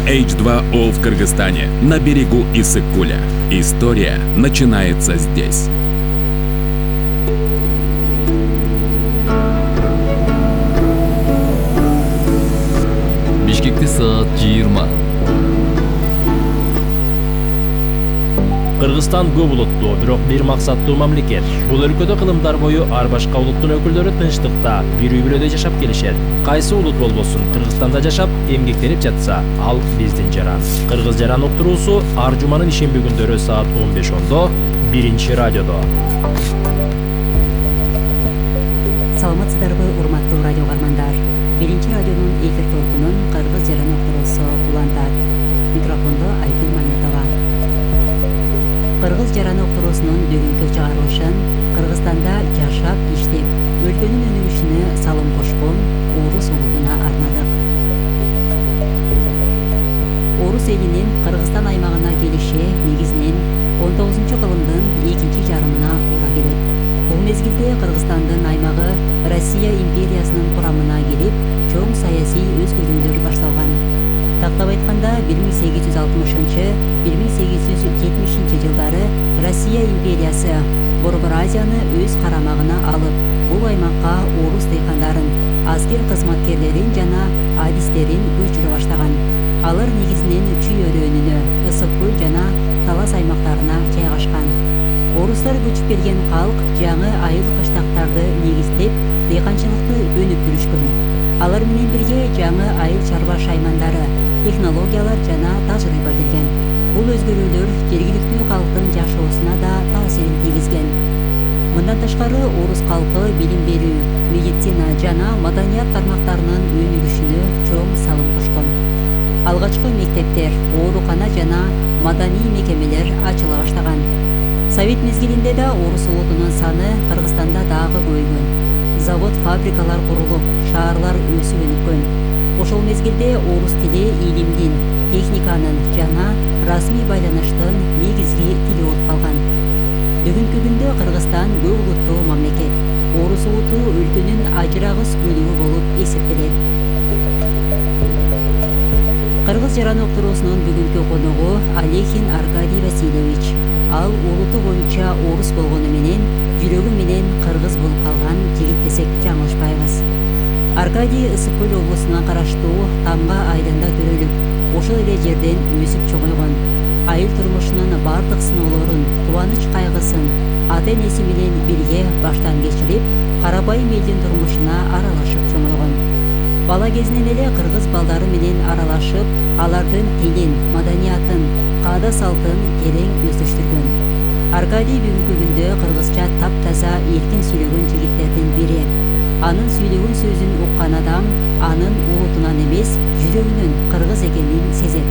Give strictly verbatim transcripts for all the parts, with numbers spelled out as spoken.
эйч два о в Кыргызстане, на берегу Иссык-Куля. История начинается здесь. Бишкекте саат жыйырма. Кыргызстан көп улуттуу, бирок бир максаттуу мамлекет. Бул өлкөдө кылымдар бою ар башка улуттун өкүлдөрү тынчтыкта, бир үй бүлөдө жашап келишет. Кайсы улут болбосун, Кыргызстанда жашап, эмгектенип жатса, ал биздин жаран. Кыргыз жаран уктуруусу ар жуманын ишемби күндөрү саат он беш ондо биринчи радиодо. Саламатсыздарбы, урматтуу радио каармандар. Биринчи радионун эфир толкунун Кыргыз жаран уктуруусу улантат. Микрофондо Айгүл Маметова. Кыргыз жараны уктуруусунун бүгүнкү чыгарылышын Кыргызстанда жашап, иштеп, өлкөнүн өнүгүшүнө салым кошкон орус улутуна арнадык. Орус элинин Кыргызстан аймагына келиши негизинен он тогузунчу кылымдын экинчи жарымына туура келет. Бул мезгилде Кыргызстандын аймагы Россия империясынын курамына кирип, чоң саясий өзгөрүүлөр башталган. Тактап айтканда бир миң сегиз жүз алтымышынчы — бир миң сегиз жүз жетимишинчи жылдары Россия империясы Борбор Азияны өз карамагына алып, бул аймакка орус дыйкандарын, аскер кызматкерлерин жана адистерин көчүрө баштаган. Алар негизинен Чүй өрөөнүнө, Ысык-Көл жана Талас аймактарына жайгашкан. Орустар көчүп келген калк жаңы айыл кыштактарды негиздеп, дыйканчылыкты өнүктүрүшкөн. Алар менен бирге жаңы айыл чарба шаймандары, технологиялар жана тажрыйба келген. Бул өзгөрүүлөр жергиликтүү калктын жашоосуна да таасирин тийгизген. Мындан тышкары орус калкы билим берүү, медицина жана маданият тармактарынын өнүгүшүнө чоң салым кошкон. Алгачкы мектептер, оорукана жана маданий мекемелер ачыла баштаган. Совет мезгилинде да орус улутунун саны Кыргызстанда дагы көбөйгөн. Завод, фабрикалар курулуп, шаарлар өсүп өнүккөн. Ошол мезгилде орус тили илимдин, техниканын жана расмий байланыштын негизги тили болуп калган. Бүгүнкү күндө Кыргызстан көп улуттуу мамлекет. Орус улуту өлкөнүн ажырагыс бөлүгү болуп эсептелет. Кыргыз жараны уктуруусунун бүгүнкү коногу Алехин Аркадий Васильевич. Ал улуту боюнча орус болгону менен жүрөгү менен кыргыз болуп калган жигит десек жаңылышпайбыз. Аркадий Ысык-Көл облусуна караштуу Тамга айылында төрөлүп, ошол эле жерден өсүп чоңойгон. Айыл турмушунун бардык сыноолорун, кубаныч кайгысын ата-энеси менен бирге баштан кечирип, карабайым элдин турмушуна аралашып чоңойгон. Бала кезинен эле кыргыз балдары менен аралашып, алардын тилин, маданиятын, каада салтын терең өздөштүргөн. Аркадий бүгүнкү күндө кыргызча таптаза эркин сүйлөгөн жигиттердин бири. Анын сүйлөгөн сөзүн уккан адам анын улутунан эмес, жүрөгүнүн кыргыз экенин сезет.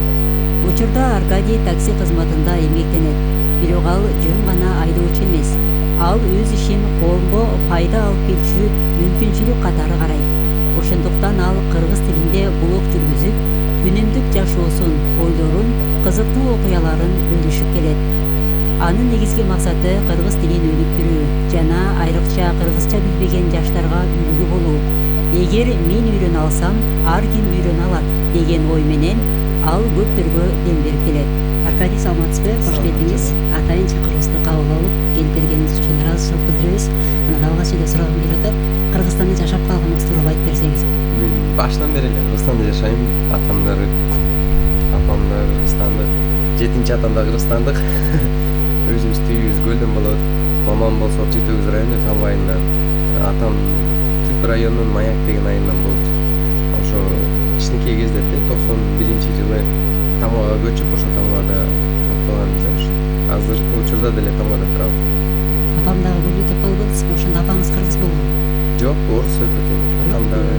Учурда Аркадий такси кызматында эмгектенет. Бирок ал жөн гана айдоочу эмес. Ал өз ишин коомго пайда алып келчү мүмкүнчүлүк катары карайт. Ошондуктан ал кыргыз тилинде блог жүргүзүп, күнүмдүк жашоосун, ойлорун, кызыктуу окуяларын бөлүшүп келет. Анын негизги максаты кыргыз тилин өнүктүрүү жана айрыкча кыргызча билбеген жаштарга үлгү болуу. Эгер мен үйрөнө алсам, ар ким үйрөнө алат деген ой менен ал көптөргө дем берип келет. Аркадий, саламатсызбы? Кош келдиңиз. Атайын чакырыгыбызды кабыл алып, келип келгениңиз үчүн ыраазычылык билдиребиз. Анан алгач эле суроогум келип атат. Кыргызстанда жашап калганыңыз тууралуу айтып берсеңиз. Мен баштан бери эле Кыргызстанда жашайм. Атамдар, апамдар кыргызстандык, жетинчи атам да кыргызстандык. Өзүбүздүн үйүбүз Көлдөн болот. Мамам болсо Жети Өгүз району Там айылынан. Атам Түп районунун Маяк деген айылынан болот. Ошо кичинекей кезде токсон биринчи жылы Тамгага көчүп, ошо Тамгада токтоганбыз. Азыркы учурда деле Тамгада турабыз. Апам дагы бөлүү деп калбадыңызбы? Ошондо апаңыз кыргыз болгон? Жок, орус өкүтүн. Атам дагы